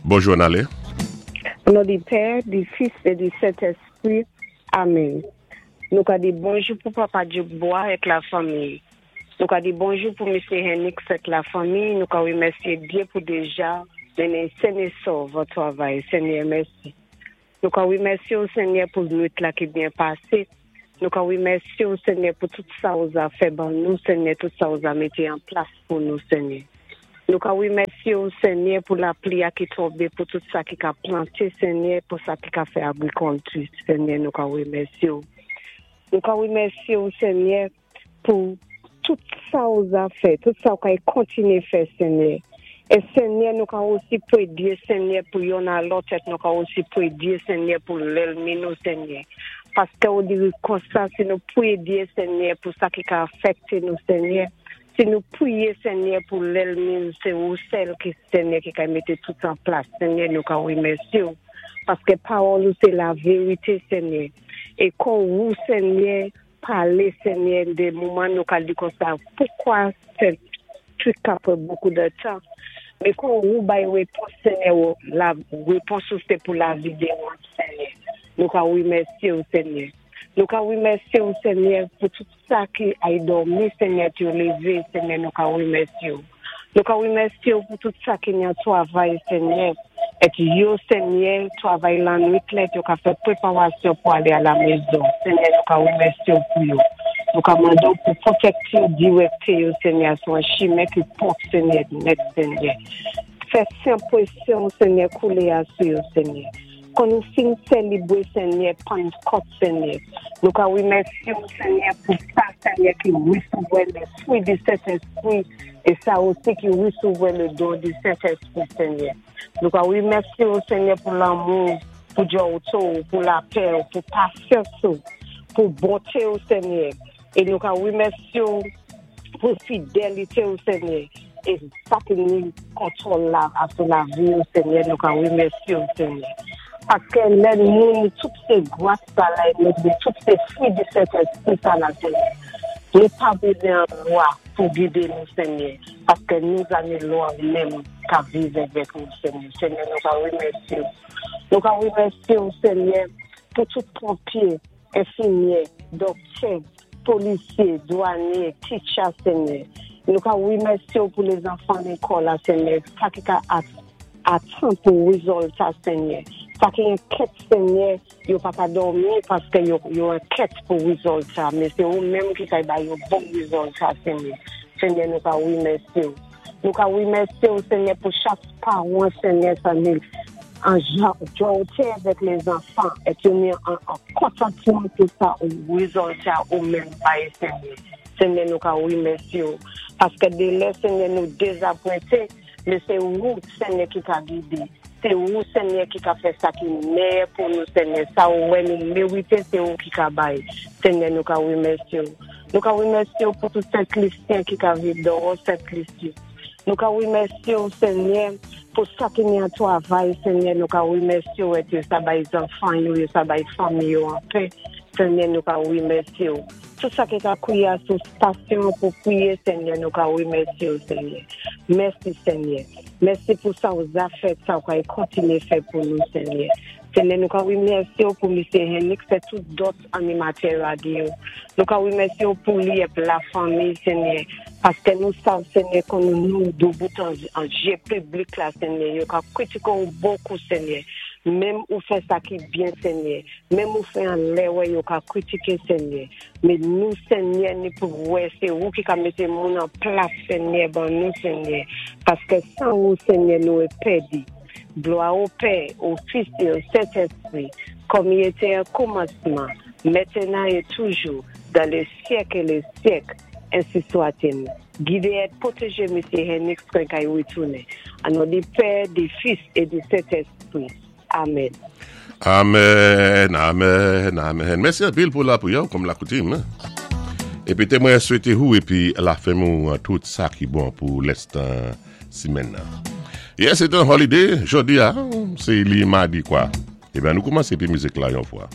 Bonjou ann alé. O non di Pè, di Fis é di Sentèspri. Amèn. Nou ka di bonjou pou Papa Duke Bois èk la fanmiy. Nou ka di bonjou pou Misyé Hennix èk la fanmiy. Nou ka remèsyé Dyé pou déja mennen sen é sòv an twavay. Senyè mèsi. Nou ka remèsye w Senyè pou nwit la ki byen pase. Nou ka remèsye w Senyè pou tout sa ou za fè ban nou Senyè, tout sa ou za mete an plas pou nou Senyè. Nou ka remèsye w Senyè pou lapli a ki tonbe pou tout sa ki ka plante Senyè, pou sa ki ka fè agrikòlti Senyè nou ka remèsye w. Nou ka remèsye w Senyè. Pou tout sa ou za fè, tout sa ou kay kontinye fè, Senyè. E Senyè, nou ka osi pwedye, Senyè, pou yonn a lòt et nou ka osi pwedye, Senyè, pou lèlmi nou, Senyè. Paske ou diri konsa, si nou pwedye, Senyè, pou sa ki ka afekte nou, Senyè, si nou pwiye, Senyè, pou lèlmi nou, se ou sèl ki, Senyè, ki kay mete tout an plas, Senyè, nou ka remèsye ou. Paske pawòl ou se laverite, Senyè. E kon ou, Senyè, Pale senyè de moman nou ka di konsa poukwa fè trik apre bokou de tan men kon wou bay repons senyè ou la repons ou se pou lavi de wont senyè nou ka remèsye ou senyè nou ka remèsye ou senyè pou tout sa ki ay dòmi senyè t yo leve senyè nou ka remèsye ou. Nou ka remèsye ou pou tout sa ki nan twavay Senyè, et yo Senyè twavay lannwit lèt yo ka fè preparasyon pou ale a la mezon Senyè nou ka remèsye ou pou yo. Nou ka mande ou pou pwotekte yo dirèkte yo Senyè sou an chimen ki pwòp Senyè nèt Senyè. Fè senpresyon ou Senyè koule a sou yo Senyè. Kon nou fin selibre Senyè Pannkòt Senyè, nou ka remèsye ou Senyè pou sa Senyè ki resevwè le fwi di Sentespri e sa osi ki resevwè le don di Sentespri Senyè. Nou ka remèsye ou Senyè pou lanmou ou, pou djòwto ou, pou lapè ou, pou pasyans ou, pou bonte ou Senyè. E nou ka remèsye w pou fidelite w Senyè e sa ki ni kontwòl la sou lavi nou Senyè nou ka remèsye w Senyè paske lè nou tout se gras sa la e nou tout se fwi di Sentespri sa la Senyè nou pa bezwen an lwa pou gide nou Senyè paske nou zami lwa w menm ka viv avèk nou Senyè Senyè nou ka remèsye w nou ka remèsye w Senyè pou tout ponpye Enfimyè, doktè, polisye, dwanye, teacher Senyè. Nou ka remèsye w pou lezanfan lekòl la Senyè, sa ki ka atan pou rezòlta Senyè. Sa ki enkèt Senyè, yo pa ka dòmi paske yo enkèt pou rezòlta, men se ou menm ki ka ba yo bon rezòlta Senyè. Senyè nou ka remèsye w. Nou ka remèsye w Senyè pou chak paran Senyè sa ni an jòwte avèk lezanfan et yo ni an kontantman pou sa ou rezòlta ou menm bay Senyè. Senyè nou ka remèsye w paske de lè Senyè nou dezapwente men se ou Senyè ki ka gide se ou Senyè ki ka fè sa ki meyè pou nou Senyè sa ou wè nou merite se ou ki ka bay Senyè nou ka remèsye w. Nou ka remèsye w pou tout Sent Lisyen ki ka viv dòwò Sent Lisi. Nou ka remèsye w Senyè pou sa ki ni an twavay Senyè nou ka remèsye w et yo sa bay zanfan yo, yo sa bay fanmi yo anpè Senyè nou ka remèsye w. Tout sa ki ka kouye a sou stasyon pou priye Senyè nou ka remèsye w Senyè. Mèsi Senyè. Mèsi pou sa w za fè, sa w ka kontinye fè pou nou Senyè. Senyè nou ka remèsye w pou Misye Hennick fè tout dòt animatè radyo. Nou ka remèsye w pou li ep la fanmi Senyè paske nou sav Senyè kon nou nou doubout an je piblik la Senyè yo ka kritike w bokou Senyè menm ou fè sa ki byen Senyè menm ou fè an lè wè yo ka kritike Senyè men nou Senyè ni pou wè se ou ki ka mete moun an plas Senyè ban nou Senyè paske san ou Senyè nou e pèdi. Glwa o Pè, o Fis e o Sentespri, kòm i etè o koumansman, mètenan e toujou, dan le syèk e le syèk, ensi swatil. Gide et pwoteje Mesye Hennix kwen kay retounen. An non di Pè, di Fis e di Sentespri. Amèn. Amèn, amèn, amèn. Mèsi anpil pou lapriyè ou kòm lakoutim. Epi te mwen swete ou epi lafèm ou tout sa ki bon pou lèstan. Simèn nan. Yè se te yon holiday, jodi a, se li madi kwa. Ebyen nou koumanse epi mizik la yon fwa.